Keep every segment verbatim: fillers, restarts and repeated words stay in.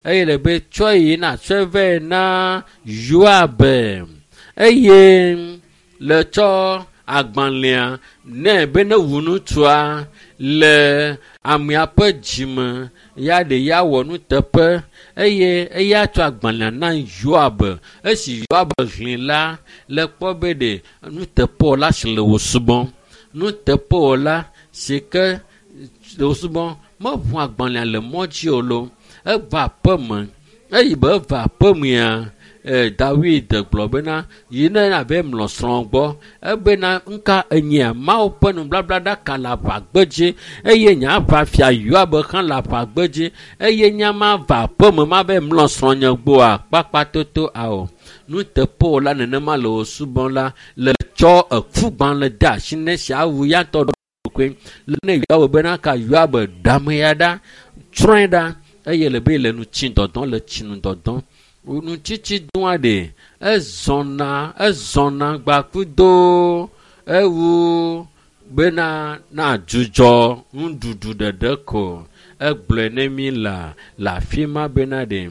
Eye le be tsɔe yi na tsɔe vɛ na Yoab. Eye le tsɔ agbalẽa nɛ be ne wu ŋutsua le amea ƒe dzime ya ɖe ya wɔ nuteƒe eye eya tsɔ agbalẽa na Yoab. Esi Yoab hlẽ la le kpɔ be ɖe nuteƒewɔla si le wò subɔm. Nuteƒewɔla si ke le wò subɔm meʋu agbalẽa le mɔ dzi o lo. Eva aƒeme. Eyi be eva aƒemea, e, Dawid gblɔ bena yi ne abe mlɔ srɔ̃ gbɔ. Ebena ŋka enyia Mawu ƒe nubablaɖaka le aʋagbedzi eye nye aʋafia Yoab hã le aʋagbedzi eye nye ma va aƒeme ma be mlɔ srɔ̃nye gbɔa kpakpatoto ao. Nuteƒewɔla nenema le wò subɔm la le tsɔ ekugbalẽ de asi ne si awu ya ŋutɔ ɖokui. Le ne Yoab bena ka Yoab ɖe ame ya ɖa, tsrɔ̃e ɖa eye le be le nu tsi dɔdɔm le tsinu dɔdɔm. Nutsitsi doa ɖe ezɔna ezɔna gbakudo ewu bena na dzudzɔ nuɖuɖu ɖeɖe ko. Egblɔe ne mi la le afi ma bena ɖe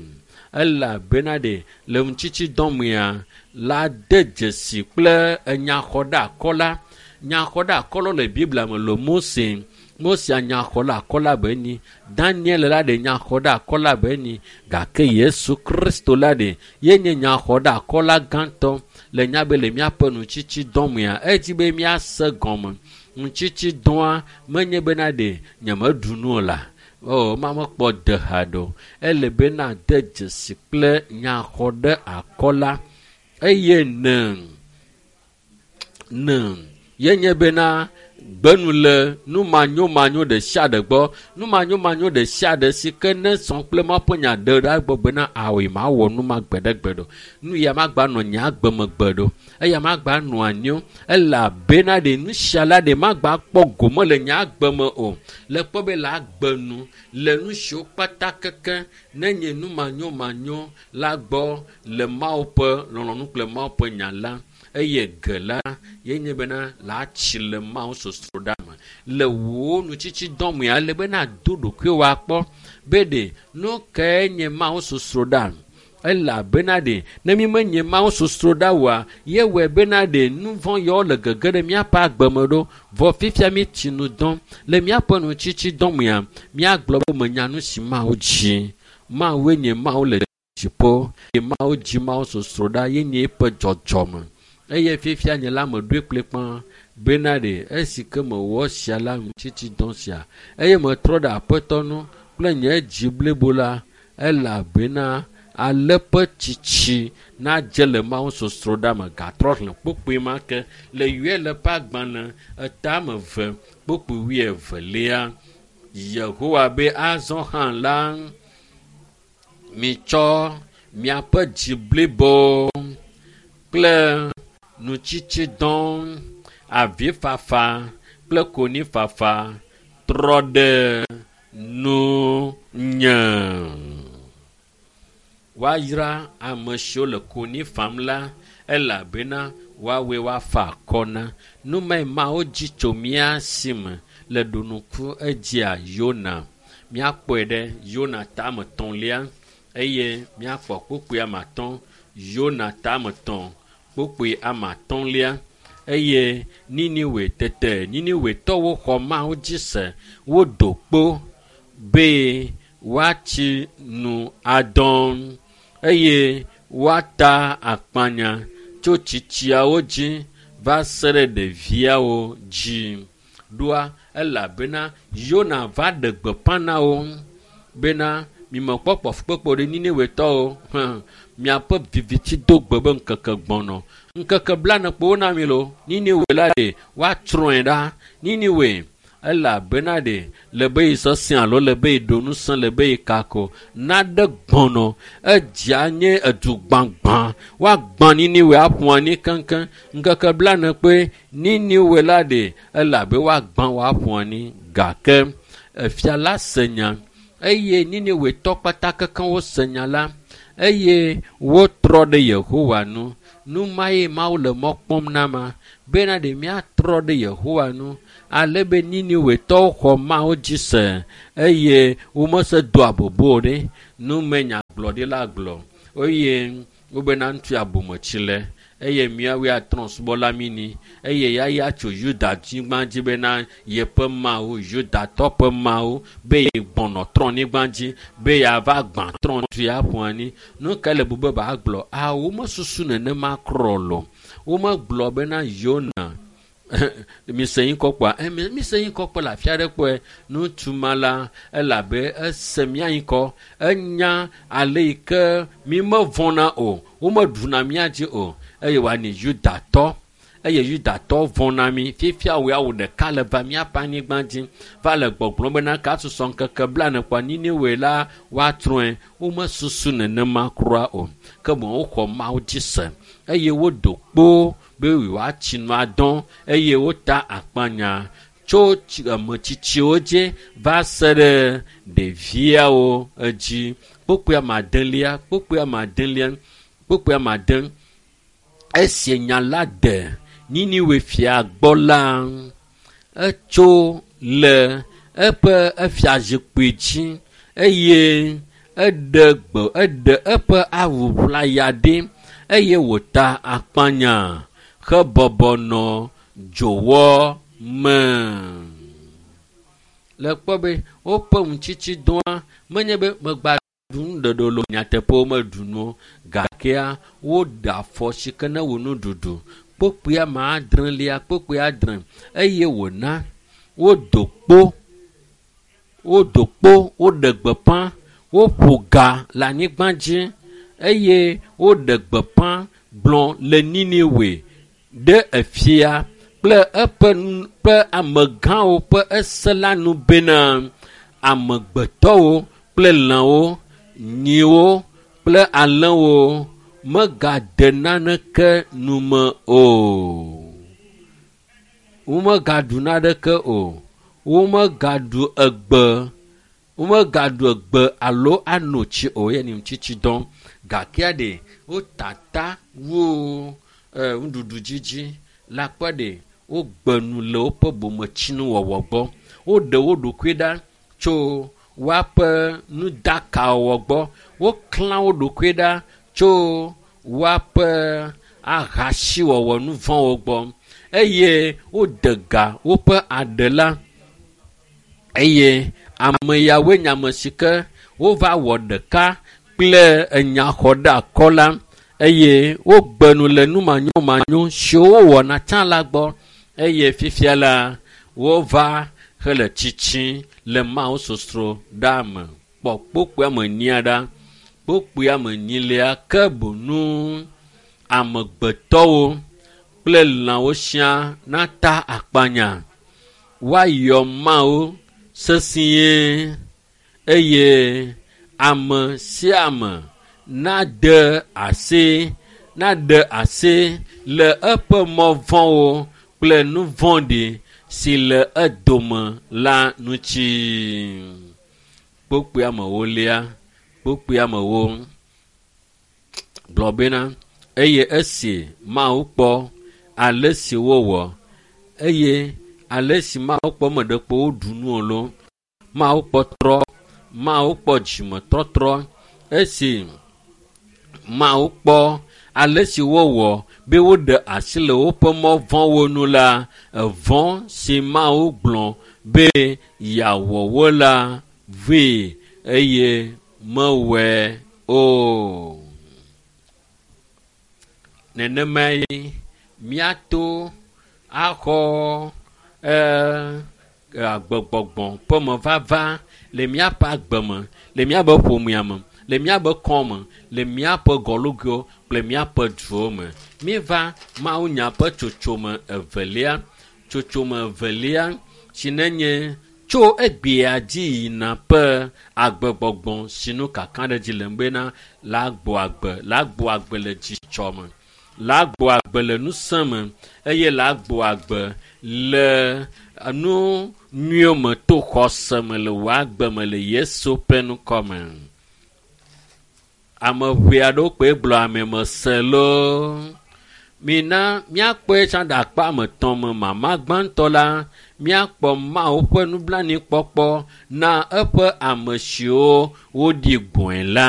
elabena ɖe le nutsitsi dɔmea la de dzesi kple enyaxɔɖeakɔla. Nyaxɔɖeakɔla le Biblia me le Mose. Mose nyaxɔɖeakɔla be nyi. Daniel la ɖe nyaxɔɖeakɔla be nyi. Gake Yesu Kristo la ɖe ye nye nyaxɔɖeakɔla gãtɔ le nya be le míaƒe nutsitsi dɔmea edzi be míase gɔme. Nutsitsi dɔa menye bena ɖe nyemeɖu nu o la. O, ma mekpɔ de ha ɖo. Ele be na de dzesi kple nyaxɔɖeakɔla eye ne ne ye nye bena gbenu le numanyomanyo ɖe sia ɖe gbɔ. Numanyomanyo ɖe sia ɖe si ke ne sɔ kple Mawu ƒe nya ɖe ɖa gbɔ bena awoe ma wɔ nu ma gbeɖegbe ɖo. Nu ya ma gba nɔ nye agbe me gbe ɖo. Eya ma gba nɔ anyi o. Elabena ɖe nu sia la ɖe ma gba kpɔ gome le nye agbe me o. Le kpɔ be le agbe nu le nu siwo kpata keke ne nye numanyomanyo la gbɔ le Mawu ƒe lɔlɔ̃nu kple Mawu ƒe nya la. Eye ge la ye nye bena la tsi le Mawu sosroɖa me. Le wò nutsitsi dɔmea ele bena do ɖokuiwò akpɔ be ɖe nu kae nye Mawu sosroɖa. Elabena ɖe ne mi menye Mawu sosroɖa oa, ye wɔe bena ɖe nu vɔ̃ yawo le gege ɖe míaƒe agbe me ɖo. Vɔ fifia mi tsi nu dɔm. Le míaƒe nutsitsi dɔmea, míagblɔ be menya nu si Mawu dzi. Mawue nye Mawu le dziƒo. Ye Mawu dzi Mawu sosroɖa ye nye eƒe dzɔdzɔme. Eye fifia nye la meɖoe kplikpaa bena ɖe esi ke mewɔ sia la nutsitsi dɔ sia eye metrɔ ɖe Aƒetɔ nu kple nye dzi blibo la elabena ale ƒe tsitsi nadze le Mawu sosroɖa me. Gatrɔ xlẽ kpukpui ma ke le Yoel ƒe agbalẽ etame eve kpukpui wuievelia. Yehowa be azɔ hã la mitsɔ miaƒe dzi blibo kple nutsitsi dɔ, avifafa kple konyifafa trɔ ɖe nunye. Woayra ame siwo le konyi fam la elabena woawoe woafa akɔ na. Nu mae Mawu dzi tso mía si me le ɖonuku edzia Yona. Míakpɔe ɖe Yona tame etɔ̃lia eye míakpɔ kpukpui ame atɔ̃. Yona tame etɔ̃ kpukpui ame atɔ̃lia eye Niniwe tete Niniwetɔwo xɔ Mawu dzi se. Wodo kpo be woatsi nu adɔ eye woata akpanya tso tsitsiawo dzi va se ɖe ɖeviawo dzi. Ɖoa elabena Yona va ɖe gbeƒã na wo bena mimekpɔ kpɔfukpekpe ɖe Niniwetɔwo hã miaƒe viviti do gbe be ŋkeke gbɔnɔ. Ŋkeke blaene kpo wona mi lo. Niniwe la ɖe woatsrɔ̃e ɖa. Niniwe elabena ɖe le be yi sesẽ alo le be yi ɖo ŋusẽ le be yi kako naɖe gbɔnɔ edzia nye edu gbãgbã woagbã Niniwe aƒu anyi keŋkeŋ. Ŋkeke blaene kpoe Niniwe la ɖe elabe woagbã woaƒu anyi gake efia la se nya eye Niniwetɔ kpata kekeŋ wose nya la eye wotrɔ ɖe Yehowa nu. Nu ma ye Mawu le mɔ kpɔm na ma bena ɖe míatrɔ ɖe Yehowa nu Ale be Niniwetɔwo xɔ Mawu dzi se eye womese do abobo o ɖe. Numenyagblɔɖila gblɔ eye wobena ŋutsu abometsi le eye míawoe atrɔ subɔla mí ni eye yaya tso Yuda nyigba dzi bena yeƒe Mawu, Yudatɔ ƒe Mawu be yegbɔnɔ trɔnyigba dzi be yeava gbã trɔ tu ya ƒo anyi. Nu ka le bu be bagblɔ? A womesusu nenema krɔ lo. Womegblɔ bena Yona mise yi kɔkɔa emi mise yi kɔkɔ le afi aɖe kpɔe ŋutsu ma la elabe ese mía yi kɔ enya ale yi ke mi mevɔna o womeɖuna mía dzi o eye wòanyi Yudatɔ eye Yudatɔ vɔna mi fifia wò ya wò ɖeka le va míaƒe anyigba dzi va le gbɔgblɔm bena ka susɔ ŋkeke blaene kpɔa Niniwe la woatrɔe womesusu nenema kura o ke boŋ woxɔ Mawu dzi se eye wodo kpo be yewoatsi nu adɔ eye wota akpanya tso ametsitsiwo dzi va se ɖe ɖeviawo dzi. Kpukpui ame adelia, kpukpui ame adelia, kpukpui ame ade. Esi nya la de Niniwe fia gbɔ la, etso le eƒe efiazikpui dzi eye eɖe gbe eɖe eƒe awu ʋlaya ɖi eye wòta akpanya hebɔbɔ nɔ dzowɔ me. Le kpɔ be woƒe ŋutsitsidɔa menye be megba ɖu nuɖeɖe lo nyateƒe womeɖu nu o gakea woɖe afɔ si ke ne wò nuɖuɖu. Kpukpui ame adrelia, kpukpui adre eye wòna wodo kpo, wodo kpo, woɖe gbeƒã, woƒo ga le anyigba dzi eye woɖe gbeƒã gblɔ le Niniwe ɖe efia kple eƒe ƒe amegãwo ƒe ese la nu bena amegbetɔwo kple lãwo, nyiwo kple alẽwo megade naneke nume o. Womegaɖu naneke o. Womegaɖu egbe, womegaɖu egbe alo ano tsi o ye nye ŋutsitsidɔ. Gakea ɖe wotata wu nuɖuɖu dzidzi la kpɔ ɖe wogbe nu le woƒe bometsinuwɔwɔ gbɔ. Woɖe wo ɖokui ɖa tso woaƒe nudakawɔwɔ gbɔ. Woklã wo ɖokui ɖa tso woaƒe ahasiwɔwɔ nu vɔ̃wo gbɔ eye wode ga woƒe aɖe la eye ame yawoe nye ame si ke wova wɔ ɖeka kple enyaxɔɖeakɔla eye wogbe nu le numanyomanyo siwo wowɔna tsã la gbɔ eye fifia la wova hele tsitsi le Mawu sosro ɖa me. Kpɔ kpukpui ame enyia ɖa. Kpukpui ame enyilia ke bonu amegbetɔwo kple lãwo siaa nata akpanya. Woayɔ Mawu sesĩe eye ame sia ame nade asi naɖe asi le eƒe mɔ vɔ̃wo kple nu vɔ̃ɖi si le edome la ŋuti. Kpukpui ame ewolia, kpukpui ame ewo gblɔ bena eye esi Mawu kpɔ ale si wowɔ eye ale si Mawu kpɔ ame ɖekpo woɖu nu o lo, Mawu kpɔ trɔ, Mawu kpɔ dzimetɔtrɔ esi Mawu kpɔ ale si wowɔ be woɖe asi le woƒe mɔ vɔ̃wo nu la, evɔ̃ si Mawu gblɔ be yeawɔ wo la vee eye mewɔe o. Nenemae míato axɔ ɛɛ agbegbɔgbɔ ƒe mevava le míaƒe agbe me, le míaƒe ƒomea me, le míaƒe kɔme, le míaƒe gɔlugoewo kple míaƒe duwo me. Míeva Mawunya ƒe tsotsome evelia, tsotsome evelia si nenye tso egbea dzi yina ƒe agbegbɔgbɔ si nu kakaɖedzi le bena la gbɔ agbe, la gbɔ agbe le dzidzɔ me, la gbɔ agbe le ŋusẽ me eye la gbɔ agbe le nu nyuiwo me to xɔse me le wò agbe me le Yesu ƒe ŋkɔ me. Ame ʋɛ aɖewo kpoe gblɔ ame mese loo. Mina míakpɔe tsã ɖe akpa ame etɔ̃ me. Mama gbãtɔ la, míakpɔ Mawu ƒe nublanuikpɔkpɔ na eƒe ame siwo woɖi gbɔe la.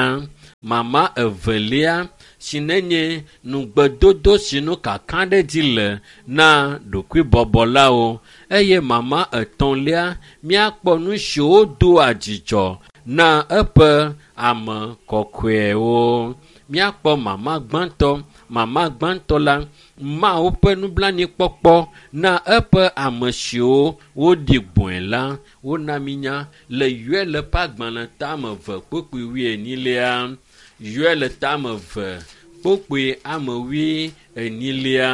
Mama evelia si nenye nugbedodo si nu kakaɖedzi le na ɖokuibɔbɔlawo. Eye mama etɔ̃lia, míakpɔ nu siwo doa dzidzɔ na eƒe ame kɔkɔewo. Míakpɔ mama gbãtɔ. Mama gbãtɔ la, Mawu ƒe nublanuikpɔkpɔ na eƒe ame siwo woɖi gbɔe la. Wona mínya le Yoel ƒe agbalẽ tame eve kpukpui wuienyilia. Yoel tame eve kpukpui ame wuienyilia.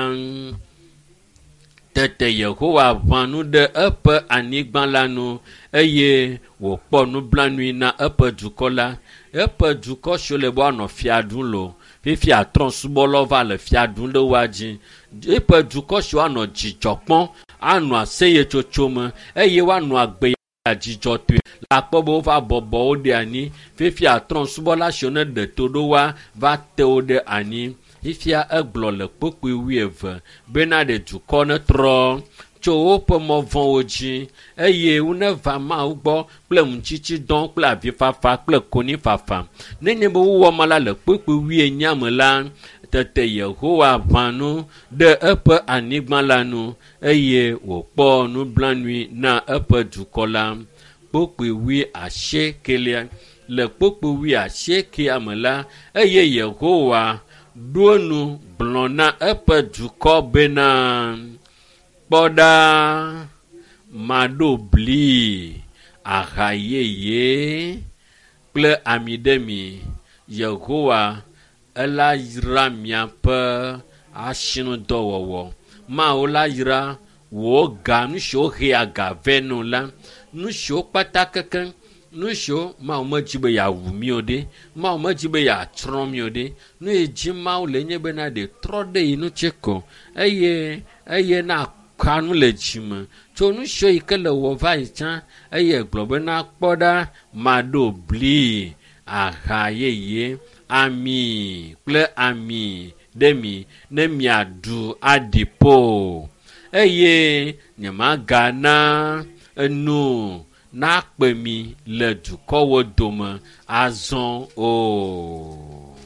Tete Yehowa ʋã nu ɖe eƒe anyigba la nu eye wòkpɔ nublanui na eƒe dukɔ la. Eƒe dukɔ siwo le be woanɔ fia ɖum lo. Fifia trɔ̃subɔlawo va le fia ɖum ɖe woa dzi. Eƒe dukɔ siwo anɔ dzidzɔ kpɔm, anɔ aseyetsotso me eye woanɔ agbe dzidzɔtɔe. Le akpɔ be wova bɔbɔ wo ɖe anyi. Fifia trɔ̃subɔla siwo ne ɖe to ɖo woa va te wo ɖe anyi. Fifia egblɔ le kpukpui wuieve bena ɖe dukɔ netrɔ tso woƒe mɔ vɔ̃wo dzi eye woneva Mawu gbɔ kple ŋutsitsidɔ kple avifafa kple konyifafa. Nenye be wowɔ ma la le kpukpui wuienyi me la, tete Yehowa ʋã nu ɖe eƒe anyigba la nu eye wòkpɔ nublanui na eƒe dukɔ la. Kpukpui wuiasiekelia. Le kpukpui wuiasiekea me la, eye Yehowa ɖo nu gblɔ na eƒe dukɔ bena, kpɔ ɖa, maɖo bli, aha yeye kple ami ɖe mi. Yehowa ela yra miaƒe asinudɔwɔwɔ. Mawu la yra wò ga, nu siwo hea ga vɛ nɔ la, nu siwo kpata kekeŋ, nu siwo Mawu medzi be yeawu mi o ɖe, Mawu medzi be yeatsrɔ̃ mi o ɖe. Nu yi dzi Mawu le nye bena ɖe trɔ ɖe yi ŋuti ko eye eye na ka nu le dzime tso nu siwo yi ke le wɔ va yi tsã eye gblɔ bena kpɔ ɖa, maɖo bli, aha yeye, ami kple ami ɖe mi ne miaɖu aɖi ƒo eye nyemagana enu nakpe mi le dukɔwo dome azɔ o.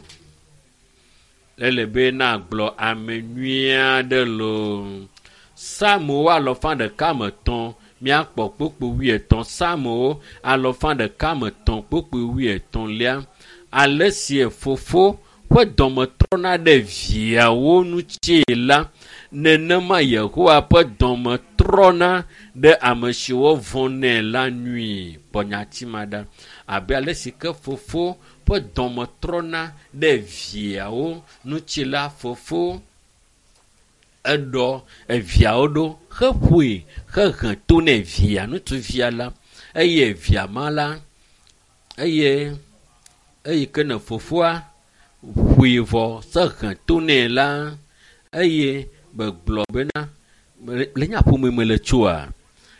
Ele be nagblɔ ame nyui aɖe loo. Psalmowo alɔfa ɖeka me etɔ̃, míakpɔ kpukpui wuietɔ̃. Psalmowo alɔfa ɖeka me etɔ̃ kpukpui wuietɔ̃lia. Ale si fofo ƒe dɔme trɔna ɖe viawo ŋuti la, nenema Yehowa ƒe dɔme trɔna ɖe ame siwo vɔ̃nɛ la nui. Kpɔ nyati ma ɖa. Abe ale si ke fofo ƒe dɔme trɔna ɖe viawo ŋuti la, fofo eɖɔ eviawo ɖo heƒoe hehe to nɛ via ŋutsuvia la eye via ma la eye eyi ke ne fofoa ƒoe vɔ sehe to nɛ la eye begblɔ bena le nya ƒome me le tsoa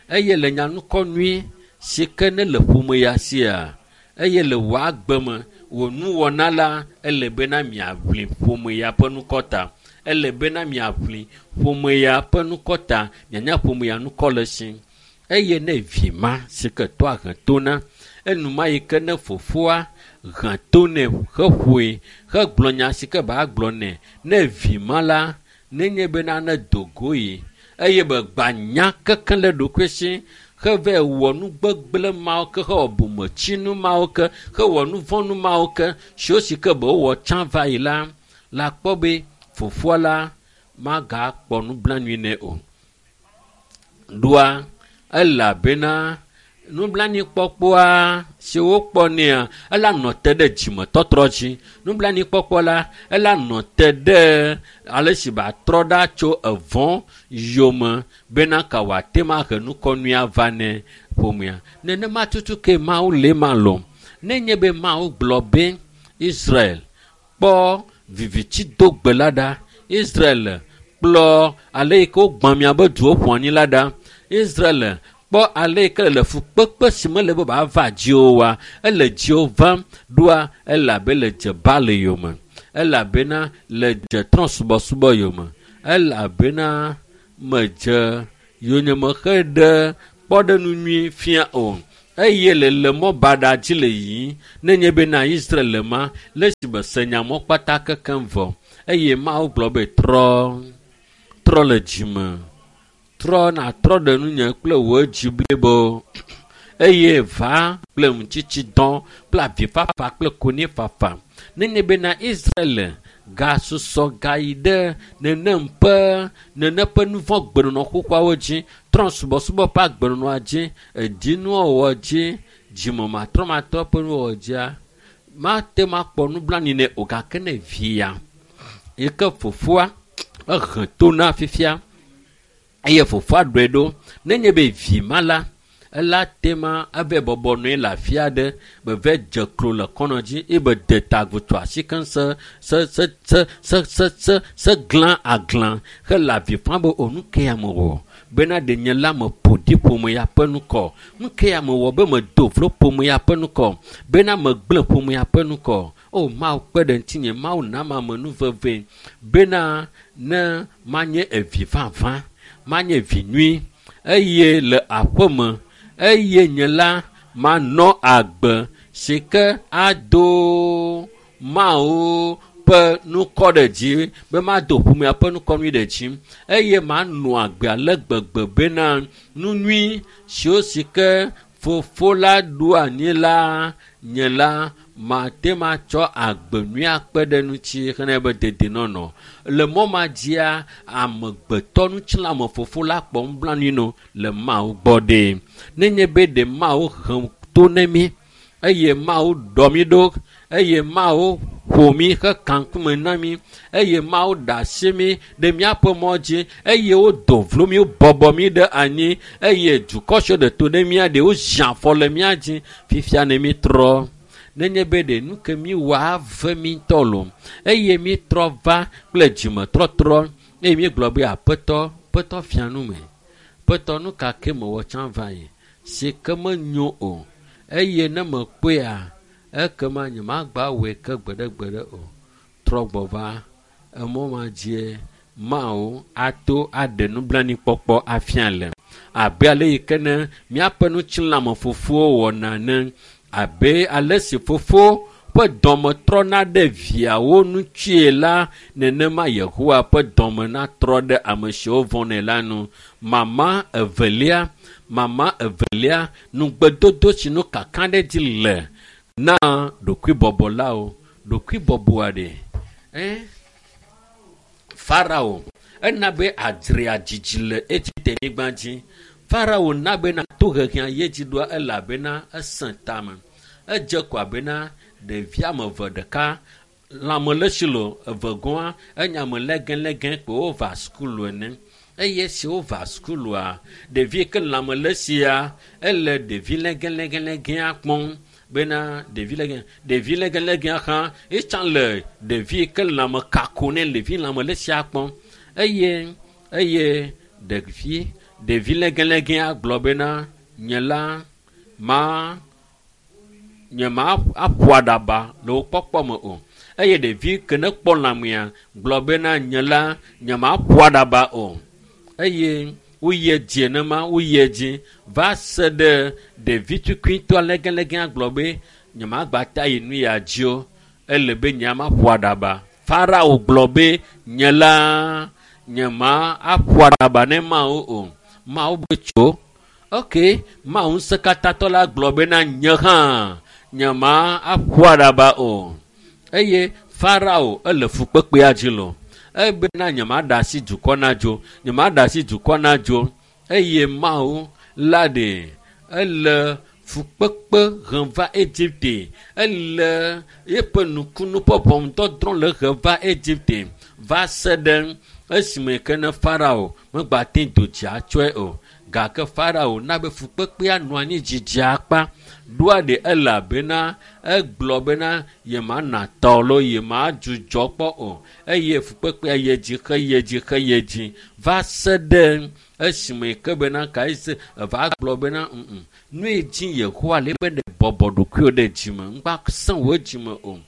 eye le nya nukɔ nyui si ke ne le ƒome ya sia eye le wò agbe me wò nuwɔna la ele bena miaʋli ƒome ya ƒe nukɔ ta. Ele bena miaʋli ƒome ya ƒe nukɔ ta, mianya ƒome ya nukɔ le si. Eye ne vi ma si ke tɔa he to na, enuma yi ke ne fofoa he to nɛ heƒoe hegblɔ nya si ke ba gblɔ nɛ, ne vi ma la nenye bena ne do go yi eye be gba nya kekeŋ le ɖokui si hevɛ wɔ nu gbegblẽ mawo ke, hewɔ bometsinu mawo ke, hewɔ nu vɔ̃nu mawo ke siwo si ke be wowɔ tsã va yi la, la kpɔ be fofoa la magakpɔ nublanui nɛ o. Ɖoa elabena nublanuikpɔkpɔa si wokpɔ nɛa, ela nɔ te ɖe dzimetɔtrɔ dzi. Nublanuikpɔkpɔ la, ela nɔ te ɖe ale si wòatrɔ ɖa tso evɔ̃ yome bena ka wòate ŋu ahe nukɔnui ava nɛ ƒomea. Nenema tutu ke Mawu le ema lɔm. Nenye be Mawu gblɔ be Israel kpɔ viviti do gbe la ɖa, Israel kplɔ ale yi ke wogbã miabe duwo ƒu anyi la ɖa, Israel kpɔ ale yi ke le fukpekpe si mele be wòava dziwò oa, ele dziwò vam ɖoa elabe le dze Baal yome, elabena le dze trɔ̃subɔsubɔ yome. Elabena medze yonyeme xe ɖe kpɔɖeŋu nyui fia o. Eye le le mɔ baɖa dzi le yiyim nenye bena Israel le ma le esime se nyamɔ kpata kekem vɔ. Eye Mawu gblɔ be trɔ, trɔ le dzime, trɔ natrɔ ɖe nunye kple wò dzi blibo. Eye va kple ŋutitsidɔ kple avifafa kple konyifafa. Nenye bena Israel gasusɔ gayi ɖe nenem ƒe nene ƒe nu vɔ̃ gbenɔnɔ xoxoawo dzi, trɔ subɔsubɔ ƒe agbenɔnɔa dzi, edinuwɔwɔ dzi, dzimematrɔmatrɔ ƒe nuwɔwɔ dzia, mate ŋu akpɔ nublanui nɛ o. Gake ne via yi ke fofoa ehe to na fifia eye fofoa ɖɔe ɖo, nenye be vi ma la, ela tema eve bɔbɔ nɔe le afi aɖe be ve dze klo le kɔnɔ dzi eye be de ta agu tso asi keŋ se se se se se se se se glã aglã hele avi fam be o nu ke ya mewɔ bena ɖe nye la meƒo ɖi ƒome ya ƒe ŋkɔ, nu ke ya mewɔ be medo vlo ƒome ya ƒe ŋkɔ, bena megblẽ ƒome ya ƒe ŋkɔ. O Mawu kpe ɖe ŋutinye, Mawu nam ame nu veve bena ne manye evi vavã, manye vi nyui eye le aƒeme eye nye la manɔ agbe si ke ado Mawu ƒe nukɔ ɖe dzi, be mado ƒomea ƒe nukɔ nyui ɖe dzi eye manɔ agbe ale gbegbe bena nu nyui siwo si ke fofo la ɖo anyi la, nye la mate ŋu atsɔ agbe nyui akpe ɖe ŋuti hena be dedienɔnɔ. Le mɔ ma dzia, amegbetɔ ŋutilãme fofo la kpɔ nublanui no le Mawu gbɔ ɖe. Nenye be ɖe Mawu hem to ne mí eye Mawu ɖɔ mí ɖo eye Mawu ƒo mí heka ŋkume na mí eye Mawu ɖe asi mí ɖe míaƒe mɔ dzi eye wodo vlo mí, wobɔbɔ mí ɖe anyi eye dukɔ siwo ɖe to ɖe mía ɖe wozi afɔ le mía dzi. Fifia ne mí trɔ, nenye be ɖe nu ke mí wɔ ave mí ŋutɔ loo eye mí trɔ va kple dzimetɔtrɔ eye mí gblɔ be aƒetɔ, aƒetɔ fia nu me, aƒetɔ nu ka ke mewɔ tsã va yi si ke menyo o eye ne mekpɔea ekema nyemagba wɔe ke gbeɖegbeɖe o. Trɔ gbɔ va emɔ ma dzie Mawu ato aɖe nublanuikpɔkpɔ afia le. Abe ale yi ke ne míaƒe ŋutilãme fofowo wɔna ene, abe ale si fofo ƒe dɔme trɔna ɖe viawo ŋutie la, nenema Yehowa ƒe dɔme natrɔ ɖe ame siwo vɔ̃nɛ la nu. Mama evelia, mama evelia, nugbedodo si nu kaka ɖe dzi le na ɖokuibɔbɔlawo. Ɖokuibɔbɔa ɖe, eh? Farao ena be adzrea dzidzi le Egipte-nyigba dzi. Farao na bena tohehe ye dzi ɖoa elabena esẽ tame. Edze ko abena ɖevi ame eve ɖeka lãme le si lo eve gɔ̃a enya me legelege ko wova sukulu ene. Eye esi wova sukulua, ɖevi ke lãme le sia ele ɖevi legelegelegea kpɔm bena ɖevi lege ɖevi legelegea hã etsã le ɖevi ke lãme kako ne ɖevi lãme le sia kpɔm. Eye eye ɖevi ɖevi legelegea gblɔ bena nye la ma nye ma aƒo aɖaba le wo kpɔkpɔ me o. Eye ɖevi ke ne kpɔ lãmea gblɔ bena nye la nye ma aƒo aɖaba o. Eye woyi edzi enema, woyi edzi va se ɖe ɖevi tukuitɔ legelegea gblɔ be nye magba ta yi nu ya dzi o, ele be nye ma ƒo aɖaba. Farao gblɔ be nye la nye ma aƒo aɖaba ne Mawu o. Mawu be tso. Ok, Mawu ŋusẽkatãtɔ la gblɔ bena nye hã nye ma aƒo aɖaba o. Eye Farao ele fukpekpea dzi lo. Ebena nye ma ɖe asi dukɔ na dzo, nye ma ɖe asi dukɔ na dzo. Eye Mawu la ɖe ele fukpekpe hem va Egipte, ele eƒe nukunu ƒe ʋɔnudɔdrɔ̃ le hem va Egipte va se ɖe esime ke ne Farao megbate do dzi atsɔe o. Gake Farao na be fukpekpea nɔ anyi dzidzi akpa. Ɖoa ɖe elabena egblɔ bena yemana tɔ alo yemadzudzɔ kpɔ o. Eye fukpekpea yi dzi xeye dzi xeye dzi va se ɖe esime ke bena Kaise eva gblɔ bena ŋu nu yi dzi Yehowa le be ne bɔbɔ ɖokuiwò ɖe dzime ŋgba sẽ wò dzime o.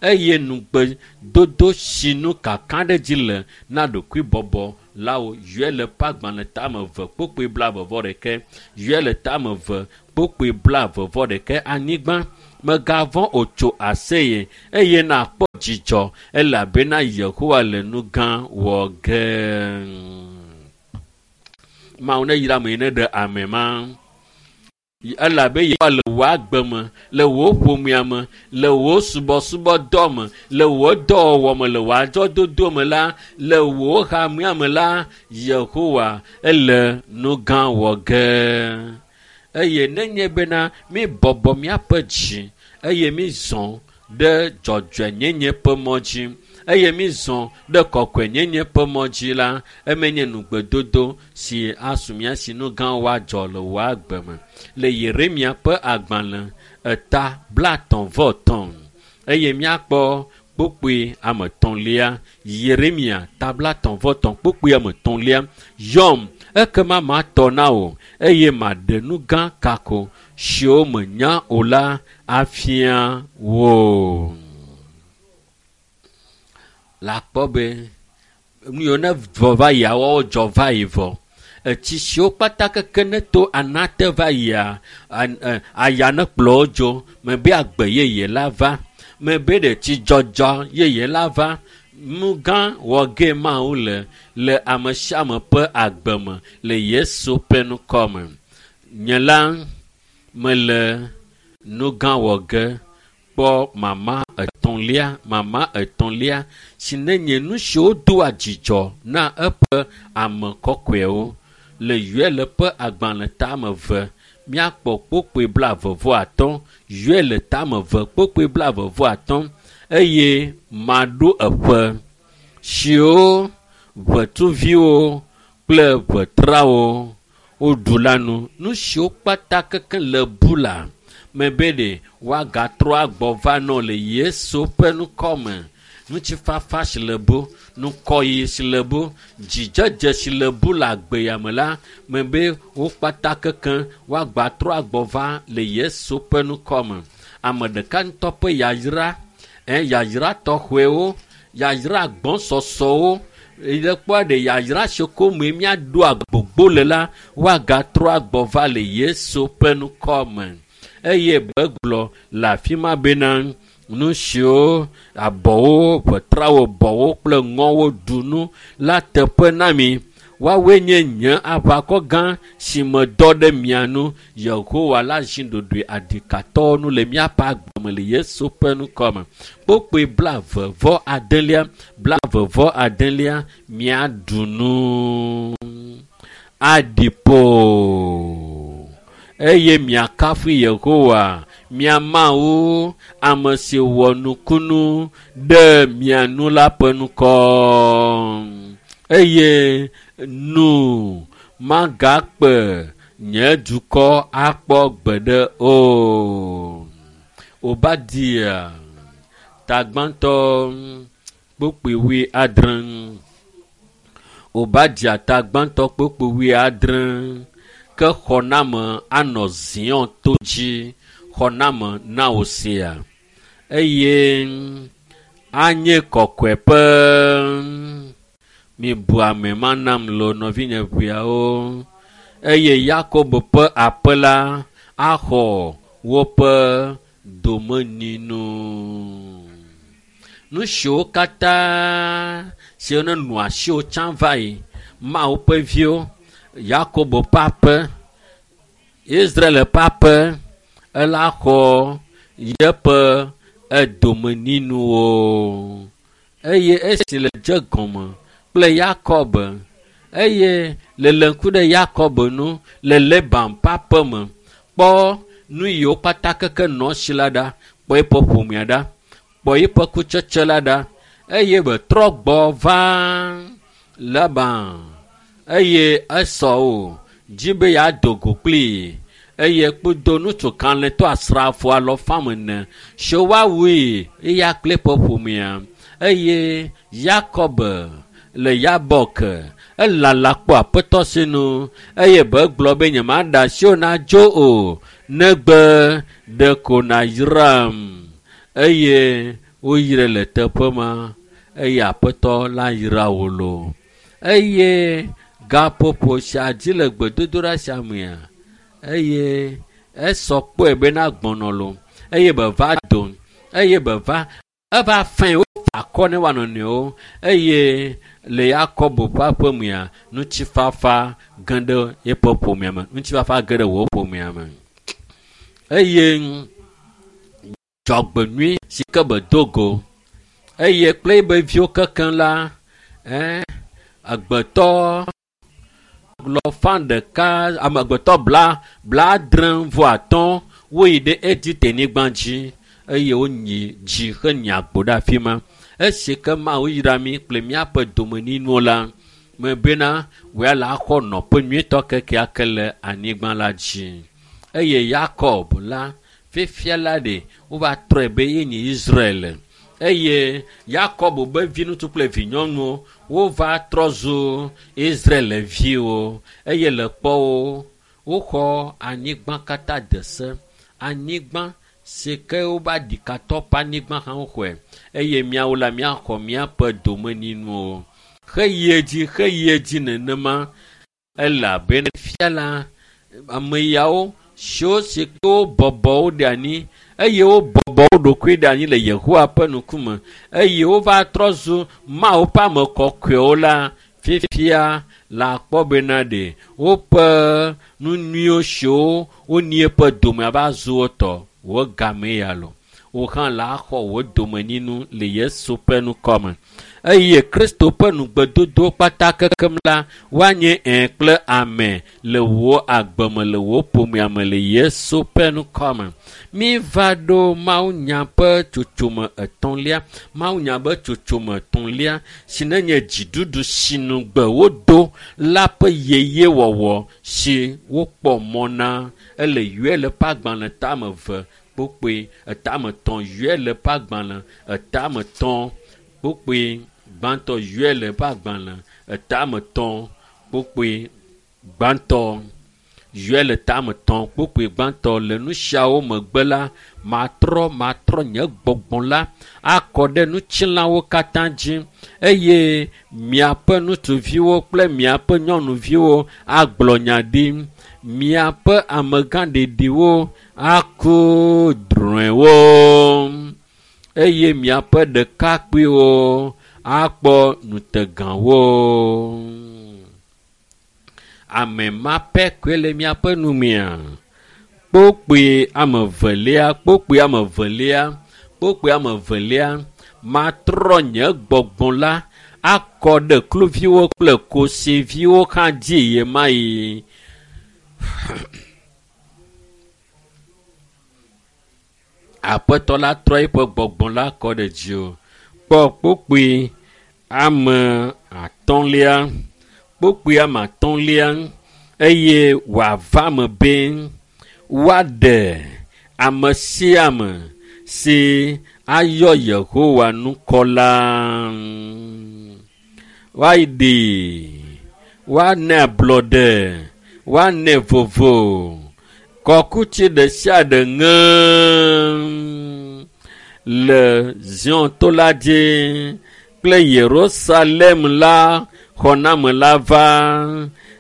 Eye nugbedodo si nu kaka ɖe dzi le na ɖokuibɔbɔ la wo yɔe le ƒe agbalẽ tame eve kpokpoe blaeve vɔ ɖeke yɔe le tame eve kpokpoe blaeve vɔ ɖeke anyigba megavɔ̃ o tso aseye eye nakpɔ dzidzɔ elabena Yehowa le nu gã wɔ ge. Mawu ne yra ame yi ne ɖe ame ma. Elabe Yehowa le wò agbe me, le wò ƒomea me, le wò subɔsubɔdɔ me, le wò dɔwɔwɔ me, le wò adzɔdodo me la, le wò hamea me la, Yehowa ele nu gã wɔ ge. Eye nenye bena mi bɔbɔ míaƒe dzi eye mi zɔ ɖe dzɔdzɔenyenye ƒe mɔ dzi eye mi zɔ ɖe kɔkɔenyenye ƒe mɔ dzi la, eme nye nugbedodo si asu mía si nu gã woadzɔ le wò agbe me. Le Yeremia ƒe agbalẽ eta blaetɔ̃ vɔ etɔ̃ eye míakpɔ kpokpoe ame etɔ̃lia. Yeremia ta blaetɔ̃ vɔ etɔ̃ kpokpoe ame etɔ̃lia. Yɔm ekema matɔ na wò eye maɖe nu gã kako siwo menya o la afia wò. Le akpɔ be nu yiwo ne vɔ va yia woawo dzɔ va yi vɔ. Etsi siwo kpata keke ne to anate va yia aya ne kplɔ wo dzo mebe agbe yeye la va mebe ɖe tsidzɔdzɔ yeye la va. Nu gã wɔ ge Mawu le le ame sia ame ƒe agbe me le Yesu ƒe ŋkɔ me. Nye la mele nu gã wɔ ge kpɔ mama etɔ̃lia mama etɔ̃lia si ne nye nu siwo doa dzidzɔ na eƒe ame kɔkɔewo le Yoel ƒe agbalẽ tame eve míakpɔ kpokpoe blaeve vɔ atɔ̃ Yoel tame eve kpokpoe blaeve vɔ atɔ̃ eye maɖo eƒe siwo ʋetuviwo kple ʋetrawo woɖu la nu. Nu siwo kpata keke le bu la mebe ɖe woagatrɔ agbɔ va nɔ le Yesu ƒe ŋkɔ me. Ŋutifafa si le bu, ŋkɔyiyi si le bu, dzidzedze si le bu le agbe ya me la mebe wo kpata keke woagatrɔ agbɔ va le Yesu ƒe ŋkɔ me. Ame ɖeka ŋutɔ ƒe yayra, ɛ yayra tɔxɔewo, yayra gbɔsɔsɔwo le kpɔa ɖe yayra si ko me míaɖo agbogbo le la woagatrɔ agbɔ va le Yesu ƒe ŋkɔ me. Eye begblɔ le afi ma bena nu siwo abɔwo, ʋetrawo, bɔwo kple ŋɔwo ɖu nu la teƒe na mi. Woawoe nye nye aʋakɔ gã si medɔ ɖe mia nu. Yehowa la zi ɖoɖoe aɖikatɔwo nu le míaƒe agbe me le Yesu ƒe ŋkɔ me. Kpokpoe blaeve vɔ adelia blaeve vɔ adelia míaɖu nu aɖi ƒo eye miakafu Yehowa mia Mawu ame si wɔ nukunu ɖe mia nu la ƒe ŋkɔ. Eye nu magakpe nye dukɔ akpɔ gbeɖe o. Obadia tagbãtɔ kpokpoe wui adre. Obadia tagbãtɔ kpokpoe wui adre ke xɔname anɔ Zion to dzi xɔname na wò sia eye anye kɔkɔeƒe. Mibu ame ma nam lo nɔvinye ʋeawo eye Yakob ƒe aƒe la axɔ woƒe domenyinu. Nu siwo katã siwo ne nɔ asiwò tsã va yi Mawu ƒe viwo Yakob ƒe aƒe Israel ƒe aƒe ela xɔ yeƒe edomenyinuwo eye esi le dze gɔme kple Yakob eye le le ŋku ɖe Yakob nu le Laban ƒe aƒe me kpɔ nu yiwo kpata keke nɔ esi la ɖa kpɔ eƒe ƒomea ɖa kpɔ eƒe kutsetse la ɖa eye betrɔ gbɔ va Laban eye Esau dzi be yeado go kplii eye kpodo ŋutsu kalẽtɔ asrafo alɔfame ene si woawui eya kple eƒe ƒomea eye Yakob le Yabok elala kpɔ aƒetɔ sinu eye be gblɔ be nyemaɖe asi o nadzo o negbe ɖeko nayram eye woyrae le teƒe ma eye aƒetɔ la yra wo loo eye gaƒoƒo sia dzi le gbedodoɖa sia mea eye esɔ kpɔe bena gbɔnɔ lo eye be va do eye be va eva fɛ̃ wofa akɔ ne woanɔ nɔewo eye le Yakobo ƒe aƒemea ŋutifafa ge ɖe eƒe ƒomea me ŋutifafa ge ɖe wò ƒomea me eye dzɔgbenyui si ke be do go eye kple ebe viwo kekeŋ la ɛɛ agbetɔ lɔfa ɖeka amegbetɔ bla blaadre vɔ atɔ̃ woyi ɖe Egipte-nyigba dzi eye wonyi dzi henyi agbo ɖe afi ma. Esi ke Mawu yra mí kple míaƒe domenyinuwo la, mebena wòya la xɔ nɔƒe nyuietɔ kekeake le anyigba la dzi. Eye Yakob la, fifia la ɖe wova trɔe be yenye Israel. Eye Yakob be viŋutsu kple vinyɔnuwo wova trɔ zu Israelviwo eye le kpɔwo woxɔ anyigba katã de se. Anyigba si ke wova ɖikatɔ ƒe anyigba hã woxɔe eye míawo la míaxɔ míaƒe domenyinuwo. Xeyi edzi xeyi edzi nenema elabena fia la ame yawo siwo si ke wobɔbɔ wo ɖe anyi eye wobɔbɔ wo ɖokui ɖe anyi le Yehowa ƒe ŋkume eye wova trɔ zu Mawu ƒe ame kɔkɔewo la fifia la akpɔ bena ɖe woƒe nu nyuiwo siwo wonyi eƒe dome va zu wo tɔ wò game ya lo. Wò hã la xɔ wò domenyinu le Yesu ƒe ŋkɔme. Eye Kristo ƒe nugbedodo kpata kekem la woanye ẽ kple ame le wò agbe me le wò ƒomea me le Yesu ƒe ŋkɔme. Míva ɖo mawunya ƒe tsotsome etɔ̃lia mawunya ƒe tsotsome etɔ̃lia si nenye dziɖuɖu si nugbe wodo la ƒe yeyewɔwɔ si wokpɔ mɔ na ele Yoel ƒe agbalẽ tame eve kpokpoe etame etɔ̃ Yoel ƒe agbalẽ etame etɔ̃ kpokpoe gbãtɔ Yoel ƒe agbalẽ etame etɔ̃ kpokpoe gbãtɔ Yoel tame etɔ̃ kpokpoe gbãtɔ le nu siawo megbe la matrɔ matrɔ nye gbɔgbɔ la akɔ ɖe ŋutilãwo katã dzi eye miaƒe ŋutsuviwo kple miaƒe nyɔnuviwo agblɔ nya ɖi miaƒe amegãɖeɖiwo aku drɔ̃ewo eye miaƒe ɖekakpuiwo akpɔ ŋutegawo. Ame ma pɛ koe le miaƒe numea. Kpokpoe ame evelia kpokpoe ame evelia kpokpoe ame evelia matrɔ nye gbɔgbɔ la akɔ ɖe kluviwo kple kosiviwo hã dzi ɣemaɣi. Aƒetɔ la trɔ eƒe gbɔgbɔ la kɔ ɖe dziwò. Kpɔ kpokpoe ame atɔ̃lia kpokpoe ame atɔ̃lia eye wòava me be woaɖe ame sia ame si ayɔ Yehowa ŋkɔ la. Woaɖee, woana ablɔɖe, woanɛ vovo. Kɔkuti ɖe sia ɖe ŋe le Zion to la dzi kple Yerusalem la xɔname la va